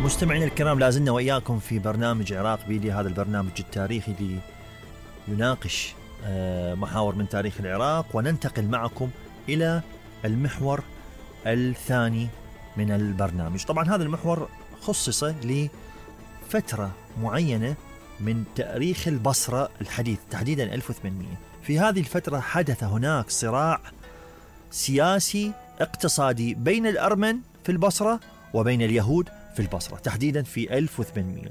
مستمعينا الكرام، لازلنا وإياكم في برنامج عراق بيدي، هذا البرنامج التاريخي اللي يناقش محاور من تاريخ العراق، وننتقل معكم إلى المحور الثاني من البرنامج. طبعا هذا المحور خصص لفترة معينة من تاريخ البصرة الحديث، تحديدا 1800. في هذه الفترة حدث هناك صراع سياسي اقتصادي بين الأرمن في البصرة وبين اليهود في البصرة، تحديدا في 1800.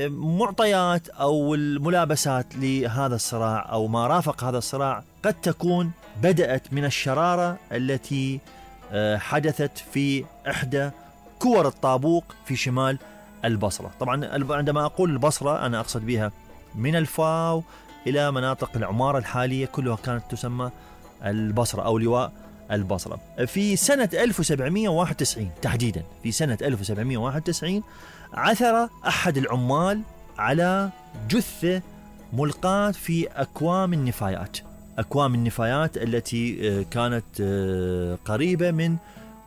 معطيات أو الملابسات لهذا الصراع أو ما رافق هذا الصراع قد تكون بدأت من الشرارة التي حدثت في إحدى كور الطابوق في شمال البصرة. طبعا عندما أقول البصرة أنا أقصد بها من الفاو إلى مناطق العمارة الحالية، كلها كانت تسمى البصرة أو لواء البصرة. في سنة 1791 تحديدا، في سنة 1791 عثر أحد العمال على جثة ملقاة في أكوام النفايات التي كانت قريبة من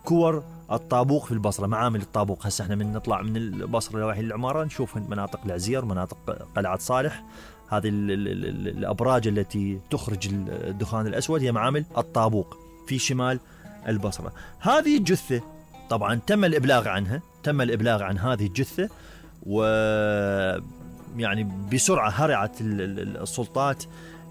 كور الطابوق في البصرة، معامل الطابوق. هسه احنا من نطلع من البصرة لواحي العمارة نشوف مناطق العزير، مناطق قلعة صالح، هذه الأبراج التي تخرج الدخان الأسود هي معامل الطابوق في شمال البصرة. هذه الجثة طبعا تم الإبلاغ عن هذه الجثة، ويعني بسرعة هرعت السلطات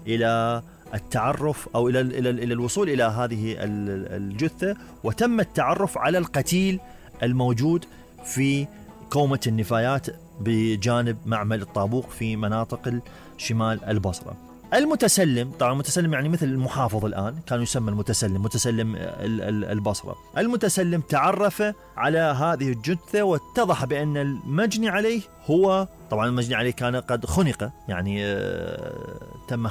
إلى التعرف أو إلى الوصول إلى هذه الجثة، وتم التعرف على القتيل الموجود في كومة النفايات بجانب معمل الطابوق في مناطق شمال البصرة. المتسلم، طبعا المتسلم يعني مثل المحافظ الآن، كان يسمى متسلم البصرة. المتسلم تعرف على هذه الجثة واتضح بأن المجني عليه هو، طبعا المجني عليه كان قد خنق، يعني تم